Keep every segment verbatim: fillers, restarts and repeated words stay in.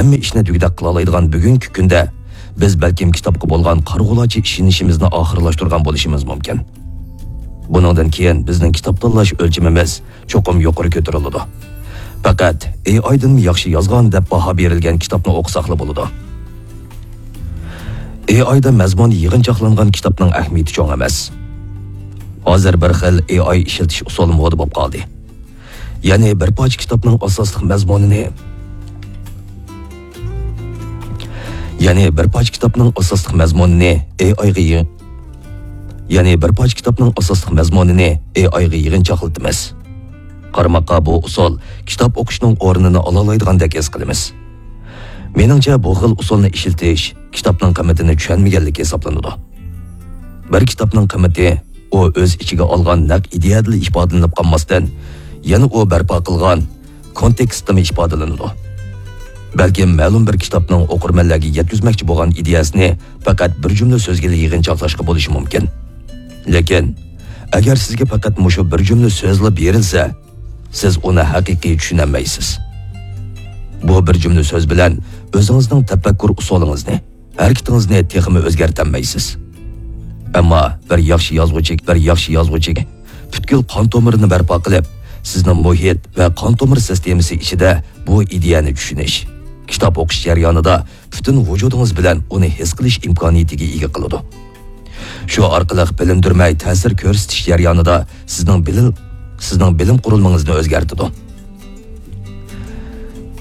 ھەممە ئىشنى دېگۈدەك قىلالايدىغان بۈگۈنكى كۈندە بىز بەلكىم كىتابقا بولغان قارىغۇلارچە ئىشىنىشىمىزنى ئاخىرلاشتۇرغان بولۇشىمىز مۇمكىن. بۇنىڭدىن كېيىن بىزنىڭ كىتاب تاللاش ئۆلچىمىمىز چوقۇم يۇقىرى كۆتۈرۈلىدۇ. پەقەت ئېي ئايدىنمۇ ياخشى يازغان دەپ باھا بېرىلگەن كىتابنى ئوقۇساقلا بولىدۇ. ئېي ئايدا مەزمۇن يىغىنچاقلانغان كىتابنىڭ ئەھمىيىتى چوڭ ئەمەس. ھازىر بىر خىل ئېي ئاي ئىشلىتىش ئۇسۇلى مودا بولۇپ قالدى. يەنى بىر پارچە كىتابنىڭ ئاساسلىق مەزمۇنىنى، يەنى بىر پارچە كىتابنىڭ ئاساسلىق مەزمۇنىنى ئېي ئايغا يىغ-، يەنى بىر پارچە كىتابنىڭ ئاساسلىق مەزمۇنىنى ئېي ئايغا يىغىنچاقلىتىمىز. قارىماققا بۇ ئۇسۇل كىتاب ئوقۇشنىڭ ئورنىنى ئالالايدىغاندەك ھېس قىلىمىز. مېنىڭچە، بۇ خىل ئۇسۇلنى ئىشلىتىش كىتابنىڭ قىممىتىنى چۈشەنمىگەنلىك ھېسابلىنىدۇ. بىر كىتابنىڭ قىممىتى ئۇ ئۆز ئىچىگە ئالغان نەق ئىدىيەدىلا ئىپادىلىنىپ قالماستىن، يەنە ئۇ بەرپا قىلغان كونتېكستتىمۇ ئىپادىلىنىدۇ. بەلكىم مەلۇم بىر كىتابنىڭ ئوقۇرمەنلەرگە يەتكۈزمەكچى بولغان ئىدىيەسىنى پەقەت بىر جۈملە سۆزگىلا يىغىنچاقلاشقا بولۇشى مۇمكىن. لېكىن، ئەگەر سىزگە پەقەت مۇشۇ بىر جۈملە سۆزلا بېرىلسە، سىز ئۇنى ھەقىقىي چۈشىنەلمەيسىز. بۇ بىر جۈملە سۆز بىلەن ئۆزىڭىزنىڭ تەپەككۇر ئۇسۇلىڭىزنى، ھەرىكىتىڭىزنى تېخىمۇ ئۆزگەرتەلمەيسىز. ئەمما بىر ياخشى يازغۇچى، بىر ياخشى يازغۇچى پۈتكۈل قان تومۇرىنى بەرپا قىلىپ، سىزنىڭ مۇھىت ۋە قان تومۇر سىستېمىسى ئىچىدە بۇ ئىدىيەنى چۈشىنىش، كىتاب ئوقۇش جەريانىدا پۈتۈن ۋۇجۇدىڭىز بىلەن ئۇنى ھېس قىلىش ئىمكانىيىتىگە ئىگە قىلىدۇ. شۇ ئارقىلىق بىلىندۈرمەي تەسىر كۆرسىتىش جەريانىدا سىزنىڭ بىلىم، سىزنىڭ بىلىم قۇرۇلمىڭىزنى ئۆزگەرتىدۇ.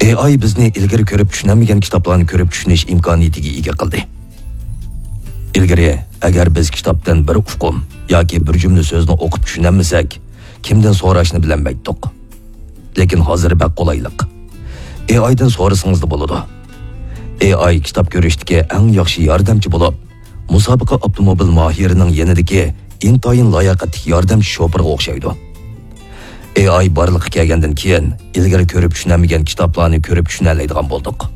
ئېي ئاي بىزنى ئىلگىرى كۆرۈپ چۈشىنەلمىگەن كىتابلارنى كۆرۈپ چۈشىنىش ئىمكانىيىتىگە ئىگە قىلدى. ئىلگىرى، ئەگەر بىز كىتابتىن بىر ئۇقۇم ياكى بىر جۈملە سۆزنى ئوقۇپ چۈشىنەلمىسەك، كىمدىن سوراشنى بىلەلمەيتتۇق. لېكىن ھازىر بەك قولايلىق. ئېي ئايدىن سورىسىڭىزلا بولىدۇ. ئېي ئاي كىتاب كۆرۈشتىكى ئەڭ ياخشى ياردەمچى بولۇپ، مۇسابىقە ئاپتوموبىل ماھىرىنىڭ يېنىدىكى ئىنتايىن لاياقەتلىك ياردەمچى شوپۇرغا ئوخشايدۇ. ئېي ئاي بارلىققا كەلگەندىن كېيىن، ئىلگىرى كۆرۈپ چۈشىنەلمىگەن كىتابلارنى كۆرۈپ چۈشىنەلەيدىغان بولدۇق.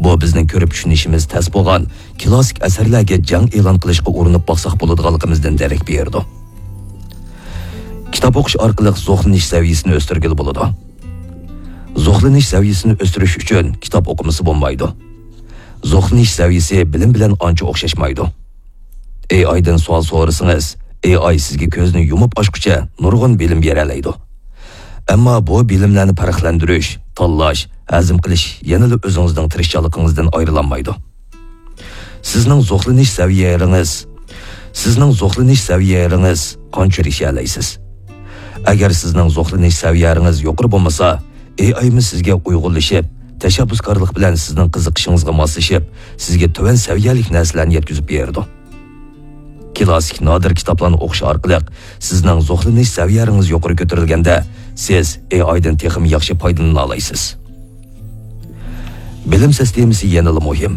بۇ بىزنىڭ كۆرۈپ چۈشىنىشىمىز تەس بولغان كلاسسىك ئەسەرلەرگە جەڭ ئېلان قىلىشقا ئۇرۇنۇپ باقساق بولىدىغانلىقىمىزدىن دېرەك بېرىدۇ. كىتاب ئوقۇش ئارقىلىق زوقلىنىش سەۋىيەسىنى ئۆستۈرگىلى بولىدۇ. زوقلىنىش سەۋىيەسىنى ئۆستۈرۈش ئۈچۈن كىتاب ئوقۇمىسا بولمايدۇ. زوقلىنىش سەۋىيەسى بىلىم بىلەن ئانچە ئوخشاشمايدۇ. ئېي ئايدىن سوئال سورىسىڭىز، ئېي ئاي سىزگە كۆزنى يۇمۇپ ئاچقۇچە نۇرغۇن بىلىم بېرەلەيدۇ. ئەمما بۇ بىلىملەرنى پەرقلەندۈرۈش، تاللاش، ھەزىم قىلىش يەنىلا ئۆزىڭىزنىڭ تىرىشچانلىقىڭىزدىن ئايرىلالمايدۇ. سىزنىڭ زوقلىنىش سەۋىيەلىرىڭىز، سىزنىڭ زوقلىنىش سەۋىيەلىرىڭىز قانچە ئېرىشەلەيسىز؟ ئەگەر سىزنىڭ زوقلىنىش سەۋىيەلىرىڭىز يۇقىرى بولمىسا، ئېي ئايمۇ سىزگە ئۇيغۇنلىشىپ، تەشەببۇسكارلىق بىلەن سىزنىڭ قىزىقىشىڭىزغا ماسلىشىپ، سىزگە تۆۋەن سەۋىيەلىك نەرسىلەرنى يەتكۈزۈپ بېرىدۇ. كلاسسىك نادىر كىتابلارنى ئوقۇش ئارقىلىق سىزنىڭ زوقلىنىش سەۋىيەلىرىڭىز يۇقىرى كۆتۈرۈلگەندە، سىز ئېي ئايدىن تېخىمۇ ياخشى پايدىلىنالايسىز. بىلىم سىستېمىسى يەنىلا مۇھىم.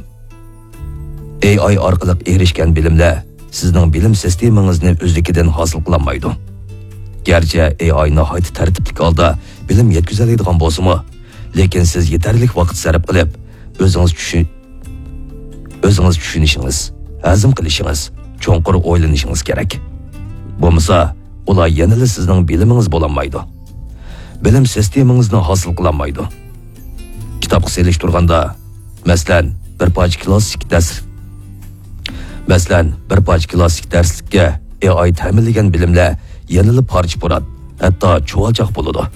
ئېي ئاي ئارقىلىق ئېرىشكەن بىلىملەر سىزنىڭ بىلىم سىستېمىڭىزنى ئۆزلۈكىدىن ھاسىل قىلالمايدۇ. گەرچە ئېي ئاي ناھايىتى تەرتىپلىك ھالدا بىلىم يەتكۈزەلەيدىغان بولسىمۇ، لېكىن سىز يېتەرلىك ۋاقىت سەرپ قىلىپ، ئۆزىڭىز چۈشۈ-، ئۆزىڭىز چۈشىنىشىڭىز، ھەزىم قىلىشىڭىز، چوڭقۇر ئويلىنىشىڭىز كېرەك. بولمىسا، ئۇلار يەنىلا سىزنىڭ بىلىمىڭىز بولالمايدۇ. بىلىم سىستېمىڭىزنى ھاسىل قىلالمايدۇ. كىتابقا سېلىشتۇرغاندا، مەسىلەن، بىر پارچە كلاسسىك دەرس، مەسىلەن، بىر پارچە كلاسسىك دەرسلىككە ئېي ئاي تەمىنلىگەن بىلىملەر يەنىلا پارچە-پۇرات، ھەتتا چۇۋالچاق بولىدۇ.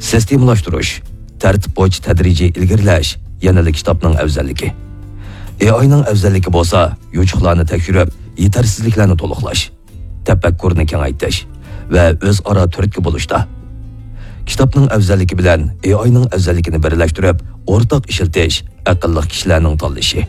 سىستېمىلاشتۇرۇش، تەرتىپ بويىچە تەدرىجىي ئىلگىرىلەش يەنىلا كىتابنىڭ ئەۋزەللىكى. ئېي ئاينىڭ ئەۋزەللىكى بولسا، يوچۇقلارنى تەكشۈرۈپ، يېتەرسىزلىكلەرنى تولۇقلاش، تەپەككۇرنى كېڭەيتىش ۋە ئۆزئارا تۈرتكە بولۇشتا. كىتابنىڭ ئەۋزەللىكى بىلەن ئېي ئاينىڭ ئەۋزەللىكىنى بىرلەشتۈرۈپ، ئورتاق ئىشلىتىش ئەقىللىق كىشىلەرنىڭ تاللىشى.